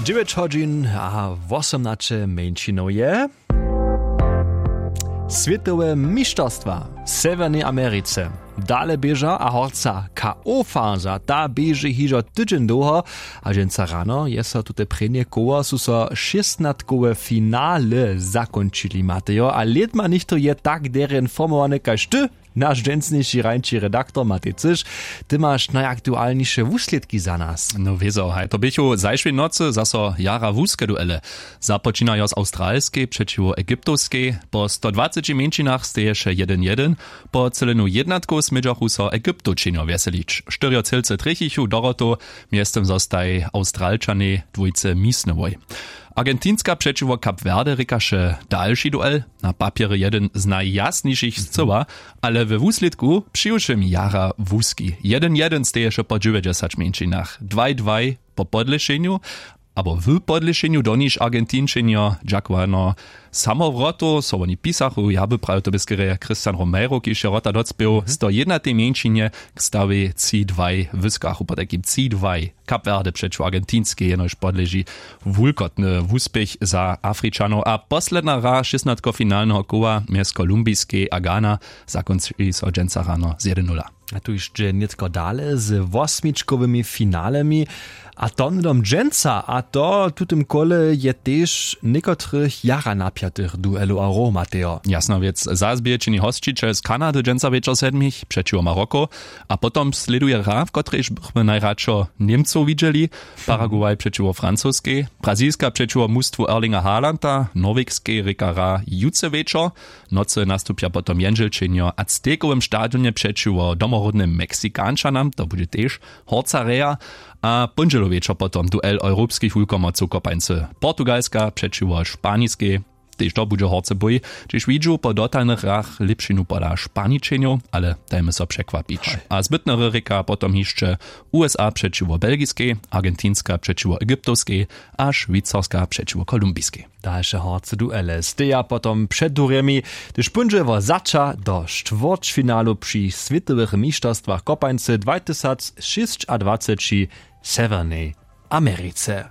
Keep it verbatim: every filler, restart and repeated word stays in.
Dźewjeć hodźin a wosomnaće mjeńšinow je. Swětowe mišterstwa w sewjernej americe dale běža a horca k o faza ta běži hižo tydźeń dołho. A dźensa rano je so tute prěnje koło su so šěstnatkowe finale zakónčili matejo a lědma něchtó je tak derje informowany kaž ty. Naš dźensniši hrańći redaktor matej cyš. Ty maš najaktualniše wuslědki za nas. No wězo haj to běchu zašłej nocy zaso jara wuske duele. Započinajo z awstralskej přećiwo egyptowskej. Po stodwaceći mjeńšinach steješe jedyn jedyn. Po cylenuw jednatkow smědźachu so egyptowčenjo wjeselić štyrjo cylce trjechichu dorotow. Mjeztym zostaj awstralčanej dwójce misnowoj. Argentinska přećiwo kap werde rěkaše dalši duel. Na papjerje jedyn z najjasnišich scyła, ale we wuslědku přiwšěm jara wuski. Jedyn jedyn steješe po dźewjećdźesać mjeńšinach dwaj dwaj. Po podlěšenju abo w podlěšenju doniž argentinčenjo dźakowano samowrotow so woni pisachu ja by prajo to bě skerje christian romero kiž je wrota docpěł sto jednatej mjeńšinje k stawej tři dwaj wyskachu potajkim tři dwaj. Kap werde přećiwo argentinskej jenož podleži wulkotny wuspěch za afričanow a posledna hra šěstnatkofinalneho koła mjez kolumbiskej a ghana. Zakónči so dźensa rano z jedyn nula. A tu hišće nětko dale z wosmičkowymi finalemi. A to hnydom dźensa a to w tutym kole je tež někotrych jara napjatych duelow a row matejo. Jasna wěc zazběje čini hosćićel z kanady dźensa wječor sedmich přećiwo maroko. A potom slěduje hra w kotrejž bychmy najradšo němcow widźeli. Paraguay přećiwo francoskej, brazilska přećiwo mustwu erlinga harlanda norwegskej rěka hra jutře wječor. Nocy nastupja potom jendźelčenjo w aztekowym stadionje přećiwo domoródnym meksikančanam to budźe tež horca reja. A póndźělow wječor potom duel europskich wulkomocow kopańcy portugalska přećiwo španiskej. Tež to budźe horce bój, hdźež widźu po dotalnych hrach lěpšinu pola španičenjow ale dajmy so překwapić. A zbytnery rěka potom hišće usa přećiwo belgiskej, argentinska přećiwo egyptowskej a šwicarska přećiwo kolumbiskej. Dalše horce duele steja potom před durjemi, hdyž póńdźe wo zača do štwórćfinalu při swětowych mišterstwach kopańcy dwatysacšěsćadwaceći w sewjernej americe.